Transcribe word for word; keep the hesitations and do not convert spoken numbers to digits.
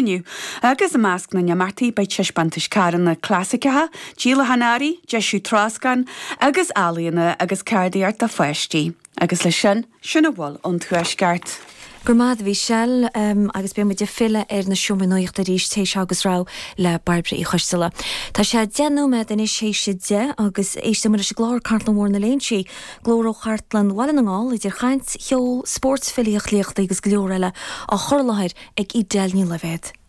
inniu, agus i measc na n-imeachtaí beidh taispeántais carranna clasaiceacha, díolachán earraí, deisiú troscáin agus ealaíona agus ceardaíocht do pháistí. Agus leis sin, sin a bhfuil ón Tuaisceart. Go raibh maith agat a Mhichelle agus beidh muid ag filleadh ar na seomraí nuachta arís théis agus rabhadh le Bairbre Uí Choisteala. Tá sé deich nóiméad anois théis a deich agus éisteann muid leis an gclár Cartlann Mhór na Léinsí, glór ó Chartlann Bhaile na nGall idir chaint, cheol, spórt, filíocht, léachtaí agus go leor eile á chur i láthair ag Edel Ní Loibhéad.